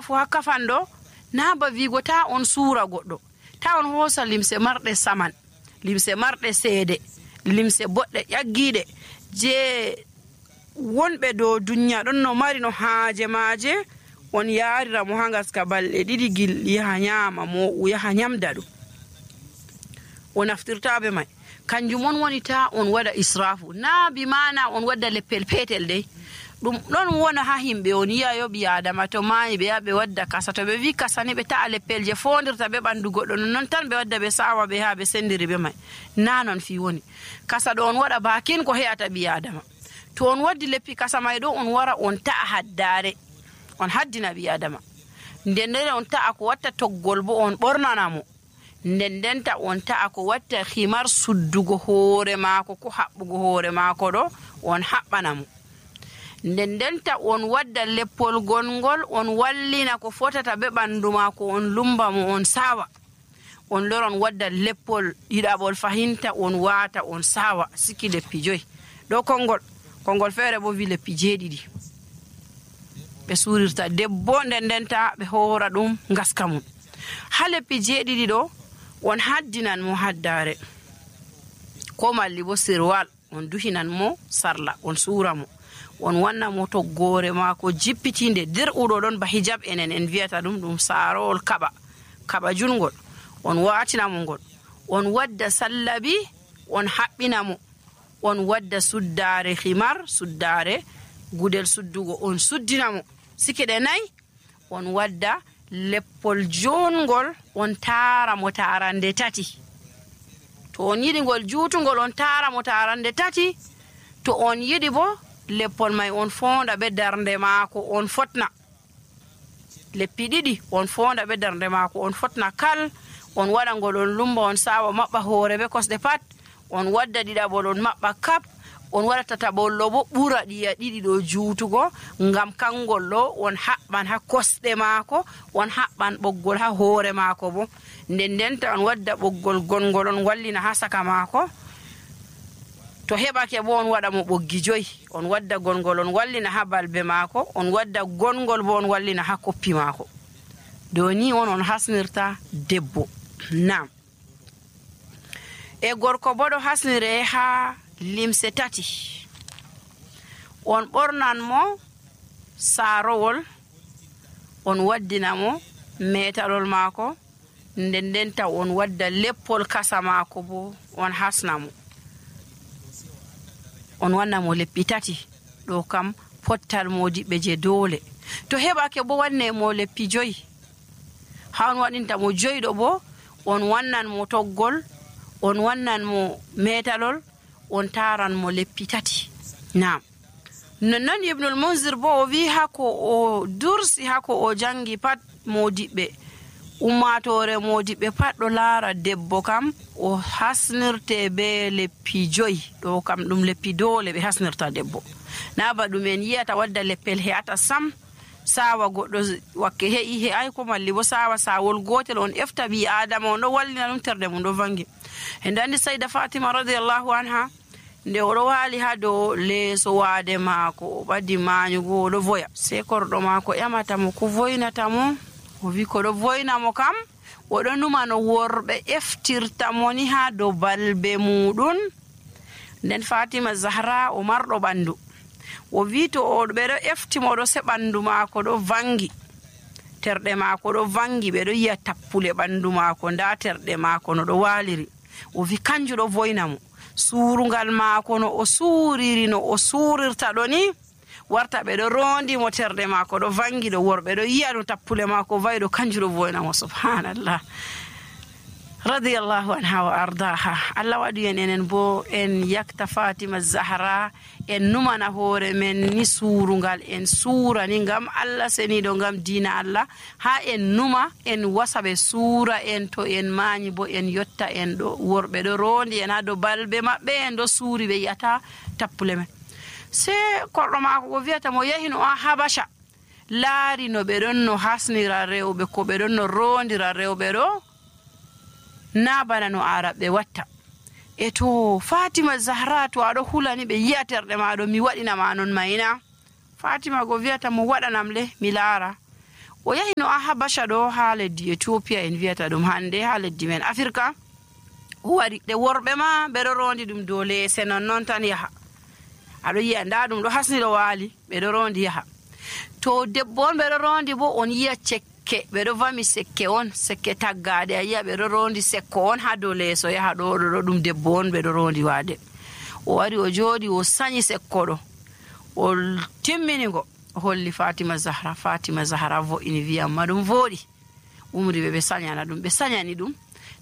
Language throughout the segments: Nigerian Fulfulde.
israfu ha kafando na ba wigo ta on suura goɗɗo, ta on hoosa limse marɗe saman, limse marɗe seede, limse boɗɗe ƴaggiiɗe je wonɓe dow duniya ɗon no mari no haaje maaje, on yaarira mo ha ngaska balɗe ɗiɗi gilɗi yaha nyaama mo yaha nyamda ɗum, o naftirta be mai. Kanjum on woni ta on waɗa israfu, na bi mana on wadda leppel petel dey. ɗum ɗon wona ha himɓe on yi'ayo ɓi adama to maayi ɓe yaha ɓe wadda kasa, to ɓe wi kasa ni ɓe ta'a leppel je fondirta be ɓandu goɗɗo, non tan ɓe wadda ɓe sawa ɓe ha ɓe sendiri be mai. Na non fi woni kasa ɗo on waɗa bakin ko he'ata ɓi adama. To on waddi leppi kasa mai ɗo on wara on ta'a haddare, on haddina ɓi adama, nden on ta'a ko watta toggol bo on ɓornana mo, ndendenta on ta'a ko watta himar suddugo hoore maako ko haɓɓugo hoore maako ɗo on haɓɓana mo, ndendenta on wadda leppol gongol on wallina ko fotata be ɓandu maako, on lumba mo on sawa, on loron wadda leppol ɗiɗaɓol fahinta on waata on sawa siki leppi 5 ɗo kongol feere bo wi leppi 7 ɓe suurirta debbo, ndendenta ɓe hoora ɗum ngaska mum. Ha leppi 7 ɗo on haddinan mo haddare ko malli bo sirwal, on duhinan mo sarla on suura mo, on wanna mo toggore maako jippitinde dir'uɗo ɗon ba hijab enen en wiyata ɗum saarowol kaɓa jungol, on waatina mo ngol, on wadda sallabi on haɓɓina mo, on wadda suddare himar, suddare gudel suddugo on suddina mo sikide 4, on wadda leppol jongol on taara mo tarande 3. To on yiɗi ngol juutungol on taara mo tarande 3, to on yiɗi bo leppol mai on fonda be darnde maako on fotna, leppi 2 on fonda be darnde maako on fotna kal, on waɗa ngol on lumba on sawa maɓɓa hoore be kosɗe pat, on wadda ɗiɗaɓol on maɓɓa kap, on waɗa tataɓollo bo ɓura ɗiya 2 ɗo juutugo, ngam kangol ɗo on haɓɓan ha kosɗe maako, on haɓɓan ɓoggol ha hoore maako bo, ndendenta on wadda ɓoggol gongol on wallina ha saka maako, to heɓake bo on waɗa mo ɓoggi 5, on wadda gongol on wallina ha balbe maako, on wadda gongol bo on wallina ha koppi maako. Do ni on hasnirta debbo. Nam e gorko bo ɗo hasnire ha limse 3, on ɓornan mo saarowol, on waddina mo metalol maako, ndendenta on wadda leppol kasa maako bo on hasna mo, on wanna mo leppi 3 ɗo kam pottal modiɓɓe je doole. To heɓake bo wanne mo leppi 5, ha on waɗinta mo 5 ɗo bo on wannan mo toggol, on wannan mo metalol, on taran mo leppi 3. Naam, nonnon Ibnul Munzir bo o wi hako o dursi hako o jangi pat modiɓɓe ummatore modiɓɓe pat ɗo laara debbo kam o hasnirte be leppi 5 ɗo kam ɗum leppi doole ɓe hasnirta debbo, na ba ɗum en yiyata wadda leppel he'ata sam, sawa goɗɗo wakke he'i ko malli bo sawa sawol gotel on efta ɓi adama on ɗo wallina ɗum terde mum ɗo vangi. En andi Sayda Fatima radiyallahu anha nde oɗo waali ha dow leeso waade maako o ɓaddi maanyugo oɗo voya, sei korɗo maako ƴamata mo ko voynata mo, o wi ko ɗo voyna mo kam oɗo numa no worɓe eftirta mo ni ha dow balbe muɗum. Nden Fatima Zahra o marɗo ɓandu, o wi to ɓeɗo efti mo ɗo se ɓandu maako ɗo vangi, terɗe maako ɗo vangi, ɓeɗo yi'a tappule ɓandu maako, nda terɗe maako no ɗo waaliri, o wi kanju ɗo voyna mo. Suurungal maako no o suuriri no o suurirta ɗo ni warta ɓeɗo rondi mo terɗe maako ɗo vangi ɗo, worɓe ɗo yi'a no tappule maako vayi ɗo, kanju ɗo voyna mo. Subhanallah, radiyallahu anha wa ardaha. Allah waɗi enen bo en yakta Fatima Zahra, en numana hoore men ni suurungal, en suura ni ngam Allah seniɗo, ngam diina Allah, ha en numa en wasa ɓe suura en, to en mañi bo en yotta en ɗo, worɓe ɗo rondi en ha dow balbe maɓɓe, en ɗo suuri ɓe yiyata tappule men. Se korɗo maako ko wiyata mo yahi no a Habasha, laari no ɓe ɗon no hasnira rewɓe, ko ɓe ɗon no rondira rewɓe ɗo, na bana no araɓe watta. E to Fatima Zahra to aɗo hulani ɓe yi'a terɗe maɗo, mi waɗinama non mayna. Fatima go wiyata mo waɗanam le mi laara, o yahi no Habasha ɗo ha leddi Ethiopia en wiyata ɗum hande ha leddi men Afrika. o wari ɗe worɓe ma ɓeɗo rondi ɗum dow leese non tan yaha, aɗo yiya nda ɗum ɗo hasni ɗo waali, ɓeɗo rondi yaha. To debbo on ɓeɗo rondi bo on yiya cekke, ɓeɗo vami sekke on, sekke taggade, a yiya ɓeɗo rondi sekko on ha dow leeso yaha ɗo ɗum debbo on ɓeɗo rondi wade. O wari o jooɗi o sanyi sekko ɗo, o timminigo o holli Fatima Zahra vo'ini wiya amma ɗum voɗi, umri ɓe sañana ɗum, ɓe sañani ɗum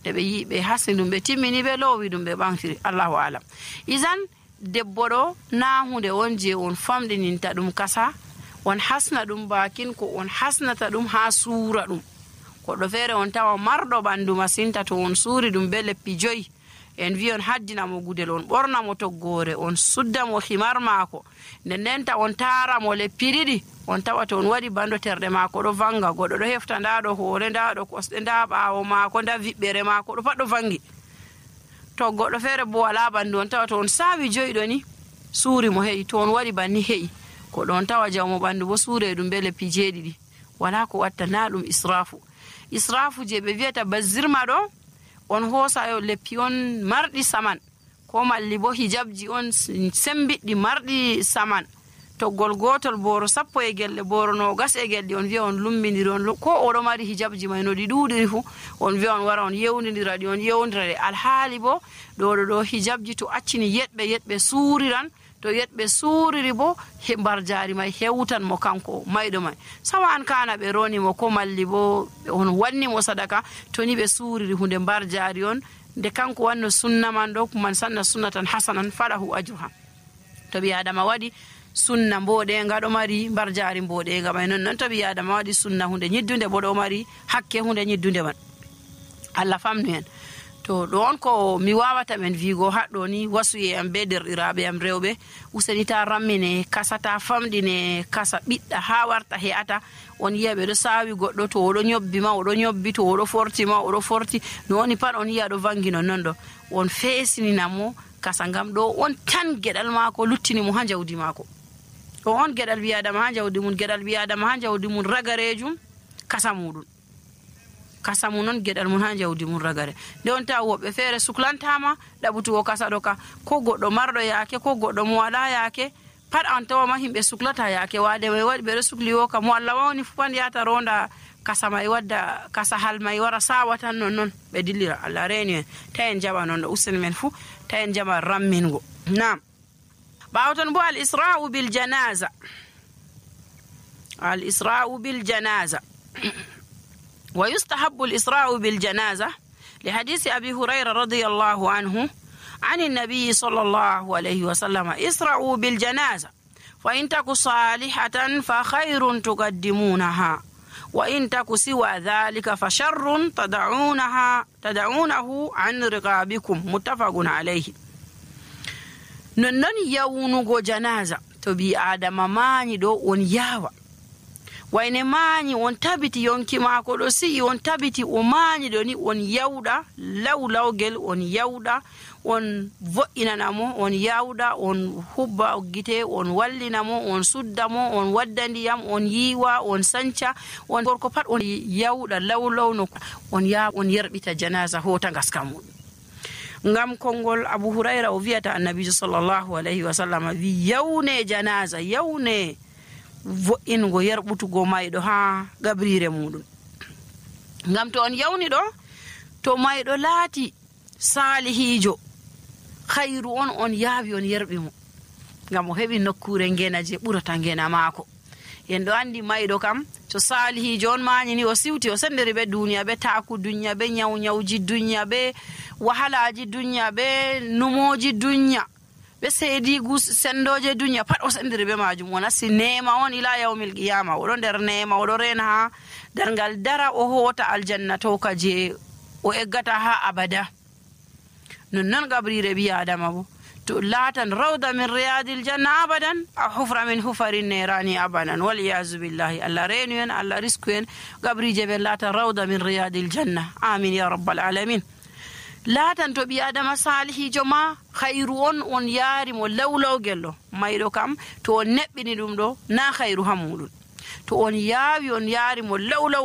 nde ɓe yi ɓe hasni ɗum ɓe timmini ɓe lowi ɗum ɓe ɓamtiri. Allahu alam. Isan debbo ɗo na hunde on je on famɗininta ɗum kasa, on hasna ɗum bakin ko on hasnata ɗum ha suura ɗum. Goɗɗo feere on tawa marɗo ɓandu masinta, to on suuri ɗum be leppi 5 en wi on haddina mo gudel, on ɓorna mo toggore, on sudda mo himar maako, ndenta on tara mo leppi 2, on tawa to on waɗi bando terɗe maako ɗo vanga, goɗɗo ɗo hefta nda ɗo hoore, nda ɗo kosɗe, nda ɓaawo maako, nda viɓɓere maako ɗo pat ɗo vangi. To goɗɗo feere bo wala bandu, on tawa to on sawi 5 ɗo ni suuri mo heƴi, to on waɗi banni heƴi, ko ɗon tawa jawmo bandu bo suure ɗum be leppi 7. wala ko watta, na ɗum israfu je ɓe wiyata bazirma ɗo, on hoosa yo leppi on marɗi saman, ko malli bo hijabji on sembiɗɗi marɗi saman, toggol gotol boro 10 e gelle, boro 20 e gelle, on wiya on lumbindiri on, ko oɗo mari hijabji may no ɗi ɗuɗiri fu, on wiya on wara on yewnidira ɗi, on yewnidira ɗi. Alhaali bo ɗo hijabji to accini yeɗɓe suuriran, to yeɗɓe suuriri bo mbar jaari may hewtan mo kanko mayɗo may, sawa an kana ɓe roni mo ko malli bo on wanni mo sadaka, to ni ɓe suuriri hunde mbar jaari on, nde kanko wanno sunna man ɗo, man sanna sunnatan hasanan falahu ajruha. to ɓi adama waɗi sunna mboɗenga ɗo mari mbar jaari mboɗenga may, non to ɓi adama waɗi sunna hunde ñiddunde bo ɗo mari hakke hunde ñiddunde man. Allah famnu en. To ɗo on ko mi wawata men wigo haɗɗo ni, wasuye am be derɗiraɓe am rewɓe, useni ta rammine kasa, ta famɗine kasa, ɓiɗɗa ha warta he'ata. On yiya ɓeɗo sawi goɗɗo, to oɗo ñobbi ma oɗo ñobbi, to oɗo forti ma oɗo forti, no woni pat on yiya ɗo vangi non ɗo, on feesinina kasa, ngam ɗo on tan geɗal maako luttini mo ha jawdi maako. ɗo on geɗal biyadama ha jawdi mum, geɗal biyadama ha jawdi mum ragarejum kasa muɗum, kasa mum non geɗal mum ha jawdi mum ragare. Nde on tawa woɓɓe feere suklantama ɗaɓutugo kasa ɗo ka, ko goɗɗo marɗo yaake, ko goɗɗo mo wala yaake, pat an tawa ma himɓe suklata yaake wade may waɗi ɓeɗo sukli wo ka, mo Allah wawni fu pan yata ronda kasa may, wadda kasa hal may wara sawa tan non ɓe dillira. Allah reni en, ta en jaɓa non ɗo, useni men fu ta en jaɓa rammingo. Nam ɓawo ton bo al-isra'u bil janaza, al-isra'u bil janaza ويستحب الإسراء بالجنازة لحديث أبي هريرة رضي الله عنه عن النبي صلى الله عليه وسلم: اسرعوا بالجنازة فإن تك صالحة فخير تقدمونها، وإن تك سوى ذلك فشر تدعونه عن رقابكم. متفق عليه. نون يونغو جنازة تبي آدم ماني دو on yawa, wayne mañi on tabiti yonki maako ɗo si'i, on tabiti o mañi ɗo ni, on yawɗa lawlawgel, on yawɗa, on vo'inana mo, on yawɗa, on hubba gite, on wallina mo, on sudda mo, on wadda ndiyam, on yiwa, on sanca, on gorko pat on yawɗa lawlawno, on yerɓita janaza hota ngaska muɗum. ngam kongol Abu Hurayra o wiyata annabijo sallallahu alayhi wa sallam wi yawne janaza, yawne vo'ingo yerɓutugo mayɗo ha gabrire muɗum. ngam to on yawni ɗo, to mayɗo laati salihijo, khayru on yaawi on yerɓi mo, ngam o heɓi nokkure ngena je ɓurata ngena maako. en ɗo andi mayɗo kam to salihijo on mañi ni, o siwti o sendiri ɓe duniya, ɓe taku duniya, ɓe nyawnyawji duniya, ɓe wahalaji duniya, ɓe numoji duniya, ɓe seedigu sendoje duniya, pat o sendiri ɓe majum. O nasti nema on ila yawmil qiyama, oɗo nder nema, oɗo rena ha dargal dara, o hota aljanna towka je o eggata ha abada. non gabrire ɓi adama bo to laatan rawda min riyadil janna abadan, a hufra min hufarin nerani abadan, waliyazu billahi. Allah renu en, Allah risku en, gabrije ɓe laatan rawda min riyadil janna, amin ya rabbal alamin. laatan to ɓi adama salihijo ma khayru on yaari mo lawlawgel ɗo, mayɗo kam to on neɓɓini ɗum ɗo na khayru ha muɗum. to on yaawi on yaari mo lawlaw